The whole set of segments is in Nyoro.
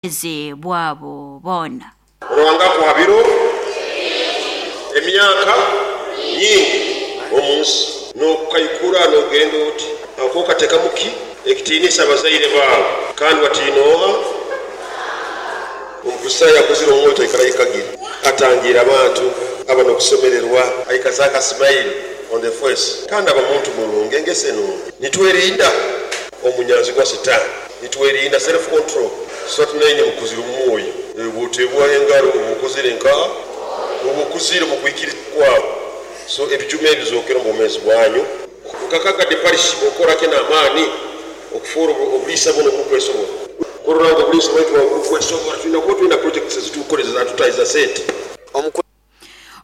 Bwabo boona. Ruhanga akuha biro, emyaka nyingi omu nsi, n'okukaikura n'ogenda oti akookatekamu ki ekitiinisa abazaire baawe, kandi watiina oha? Omukristaayo akuzire omu mwoyo taikara aikagire, atangiira abantu, aba n'okusemererwa, aikaza aka smile on the face, kandi aba muntu murungi, engeso enungi. Nitwerinda omunyanzigwa Sitaani, nitwerinda self control. Satu naine mukuzire omu mwoyo, obu oteebwaho engaro oba okozere nkaha? Oba okuzire omu kwikiriza kwawe. So ebijuma ebi bizookere omu bwomeezi bwanyu. Nka Kagadi Parish mukora ki n'amaani okufoora obuliisa bunu oburukwesobora? Kurora ngu obuliisa bwaitu bwaba burukwesobora, twina kuba twina projects eziturukukoreza ezatutahiza sente.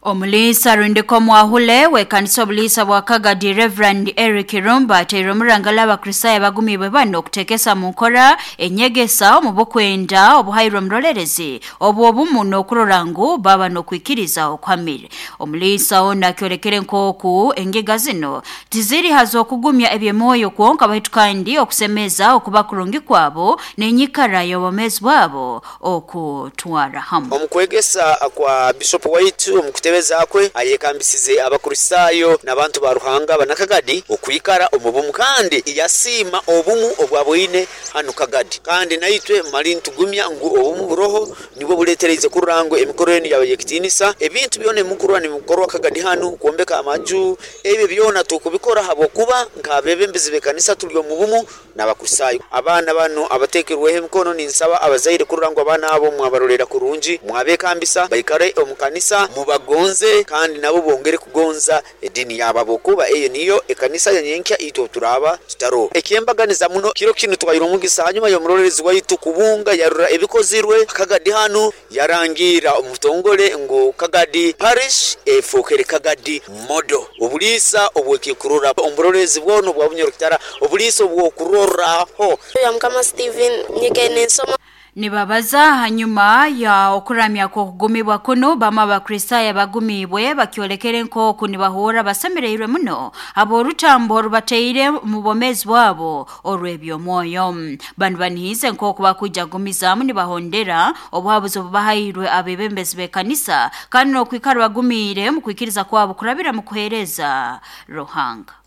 Omuliisa rundiko mwahule w'ekanisa obuliisa bwa Kagadi, Reverend Eric Rumba, ateire omurangala Abakristaayo abagumiibwe bano okuteekesa mu nkora enyegesa omu bukwenda obuhairwe omurolerezi obu obumu n'okurora ngu baba n'okwikiriza okuhamire. Omuliisa ono akyolekere nk'oku engega zino tiziri haz'okugumya eby'emwoyo kwonka, baitu kandi okusemeza okuba kurungi kwabo n'enyikara y'obwomeezi bwabo okutwara hamu. Omu kwegesa kwa Bishop waitu omu kutebeza kwe, ayekambisize Abakristaayo n'abantu ba Ruhanga Abanakagadi okwikara omu bumu, kandi yasiima obumu obwaboine hanu Kagadi. Kandi naitwe mali nitugumya ngu obumu buroho nibwo buleetereize kurora ngu emikoro enu yaba y'ekitiinisa. Ebintu byona ebimukurora nibikorwa Kagadi hanu, kwombeka amaju, ebyo byona tukubikora habwokuba nk'abebembezi b'ekanisa tuli omu bumu n'Abakristaayo. Abaana banu abateekirweho emikono, ninsaba abazaire kurora ngu abaana abo mwabarolera kurungi, mwabekambisa baikare omu kanisa, mubagonze kandi nabo bongere kugonza edini yabo, habwokuba eyo niyo ekanisa ya nyenkya itwe obu turaaba tutaroho. Ekyembaganiza muno, kiro kinu tuhaire omugisa hanyuma y'omurolerezi waitu kubunga yarora ebikozirwe Kagadi hanu, yarangiira omu butongole ngu Kagadi Parish efookere Kagadi Model. Obuliisa obw'ekikurora omu buroleerezi bwona obwa Bunyoro-Kitara, obuliisa obw'okurorraho. Ya Mukama Stephen nyikaire ninsoma. Nibabaza hanyuma ya okuramya kw'okugumibwa kunu, bamu Abakristaayo abagumiibwe bakyolekere nk'oku nibahurra basemereirwe muno habw'orutambo orubateire mu bwomeezi bwabo orw'eby'omwoyo. Banu banihiize nk'oku bakwija kugumizaamu nibahondera obuhabuzi obubahairwe abebembezi b'ekanisa, kandi n'okwikara bagumiire mu kwikiriza kwabo kurabira mu kuheereza Ruhanga.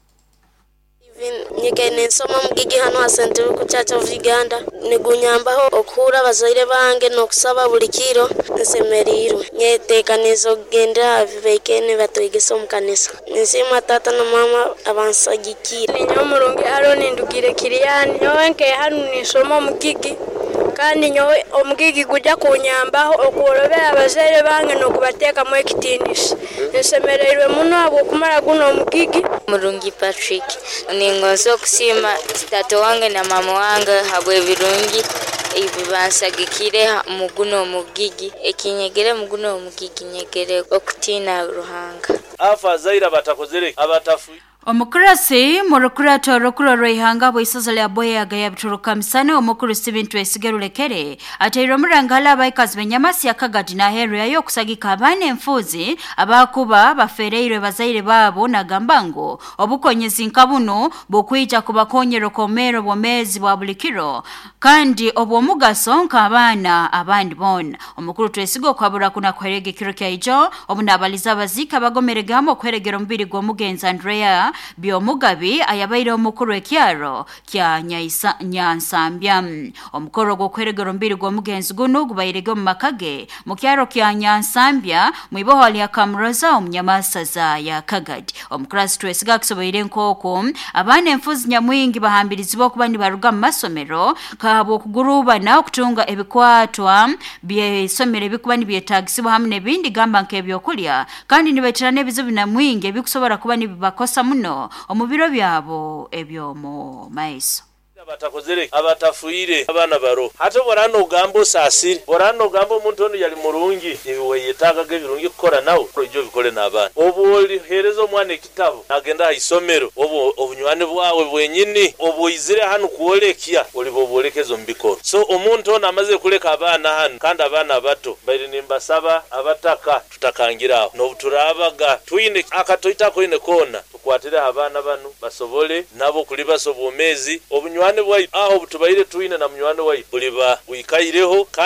Nyikaire ninsoma omugigi hanu ha St. Luke Church of Uganda, nigunyambaho okuhurra abazaire bange n'okusaba buli kiro. Nsemeriirwe, nyetekaniize okugendera ha bibaikaire nibatwegesa omu kanisa. Ninsiima taata na maama abansagikiire. Ninyowe Murungi Aroni, ndugire Kiriyani. Nyowe nkaire hanu ninsoma omugigi, kandi nyowe omugigi gujya kunyambaho okworobera abazaire bange n'okubateekamu ekitiinisa. Nsemereirwe muno habw'okumara guno omugigi. Murungi Patrick, ningonza okusiima taata wange na maama wange habw'ebirungi ebi bansagikire mu guno omugigi. Ekinyegere mu guno omugigi, nyegere okutiina Ruhanga. Afazaire abatakozere abatafu. Omukurasi murukurato orukuru orw'ihanga bw'isaza lya Boyaga yabituruka misana, omukuru Steven Twesige Rulekere, ateire omurangala abaikazi b'Enyamasi ya Kagadi n'aheeru yayo okusagika abaana enfuuzi abakuba bafereirwe bazaire baabo, nagamba ngu obukonyezi nka buno bukwija kubakonyera okwomera obwomeezi bwa buli kiro kandi obw'omugaso nk'abaana abandi boona. Omukuru Twesiga okuhabura kuna kuherega ekiro kyaijo obu naabaliza abaziika abagomerege hamwe okuheregera omubiri gw'omugenzi Andrea Byomugabi ayabaire omukuru ekyaro kya Nyansambya. Omukoro gw'okuheregera omubiri gw'omugenzi gunu gubairege omu makage mu kyaro kya Nyansambya mwiboho lya Kamuroza omu Nyamasaza ya Kagadi. Omukurasi Twesiga akisoboire nk'oku abaana enfuzi nyamwingi bahambirizibwa okuba nibaruga mu masomero kahabw'okugurubana okutunga ebikwatwa by'isomero ebikuba nibyetaagisibwa hamwe n'ebindi, gamba nk'ebyokulya, kandi nibaitira n'ebizibu nyamwingi ebikusobora kuba nibibakosa muno omu biro byabo eby'omu maiso. Abatakozere abatafuire abaana baro hati borana ogamba osasire, borana ogamba omuntu onu yali murungi, iwe weyetagaga ebirungi kukora nawe oije obikole n'abaana. Obu olihereza omwana ekitabo nagenda aha isomero, obu obunywani bwawe bwenyini obu oizire hanu kwolekya oliba obwolekeza omu bikoro. So omuntu ono amaze kuleka abaana hanu, kandi abaana abato, baire nimbasaba abataka tutakangira aho, n'obu turabaga twine akatoita koine koona, tukwatireho abaana banu basobole nabo kulibasa obwomezi obunywani. Obunywani bwaitu aho obutubaire twine na munywani waitu buliba bwikaireho kandi.